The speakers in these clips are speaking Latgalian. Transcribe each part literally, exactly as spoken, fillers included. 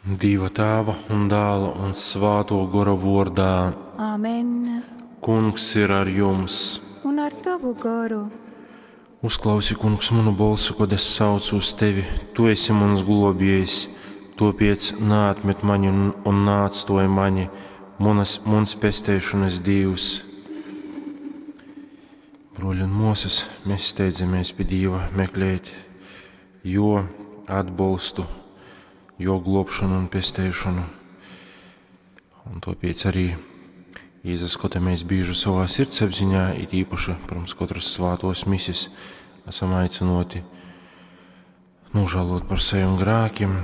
Dīva Tāva un Dāla un Svātō Gora vōrdā. Amen. Kungs ir ar jums. Un ar tovu goru. Uzklausi, Kungs, munu bolsu, kod es saucu uz tevi. Tu esi muns globiejs, tōpēc naatmet mani un, un neatstoj mani, munas, muns pesteišanas Dīvs. Broļi un mosas, mēs steidzamies pie Dīva meklēt jo atbalstu, jo globšanu un pesteišanu. Un tāpēc arī izaskatāmies bieži savā sirdsapziņā, it īpaši pirms katras svātos misis, esam aicinoti nožēlot par saviem grēkiem,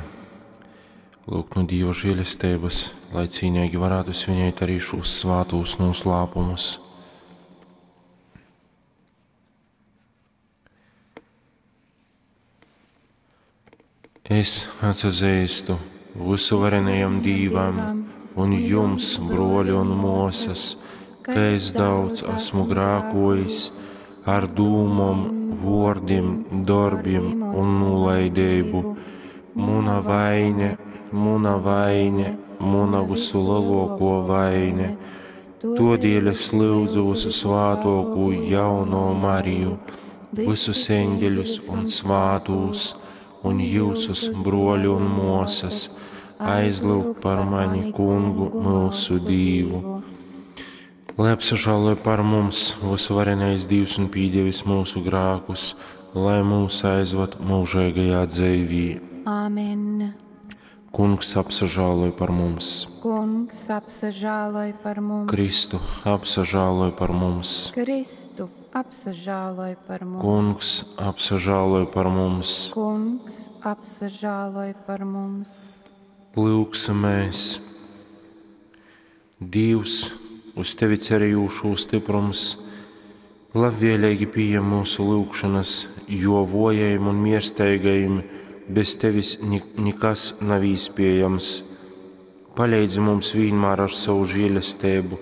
lūgt no Dieva žēlestības, lai cīnīgi varētu svinēt arī šos svātos noslēpumus. Es atsazīstu visuvarenajam Dīvam un jums, broļi un mosas, ka es daudz esmu grākojis ar dūmom, vōrdim, dorbim un nolaidību. Muna vaine, muna vaine, muna visu lielāko vaine. Todēļ es lūdzu visu svātoko jauno Mariju, visus eņģeļus un svātūs, un jūsus, broļi un mosas, aizlūg par mani kungu mūsu Dīvu. Lai apsažāloj par mums visuvarenais Dīvs un pīdievis mūsu grākus, lai mūs aizvad mūžīgajā dzīvī. Āmen. Kungs apsažāloj par mums. Kungs apsažāloj par mums. Kristu apsažāloj par mums. Kristu apsažāloj par mums. Kungs apsažāloj par mums. Kungs apsažāloj par mums. Lūksimies! Dievs, uz tevi cerējušo stiprums, labvēlīgi pieņem mūsu lūgšanas, jo vojajiem un miersteigajiem bez tevis nekas nav iespējams. Palīdzi mums vienmēr ar savu žēlastību,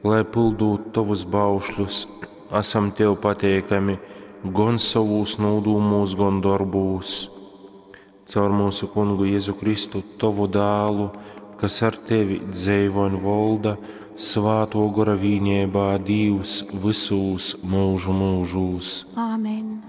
lai pildot tavus baušļus, esam tev pateikami gan savūs nodūmūs, gan darbūs. Caur mūsu kungu Jēzu Kristu, tavu dālu, kas ar tevi dzeivo un volda, svāto gora vīniebā Dīvs visūs mūžu mūžūs. Āmen.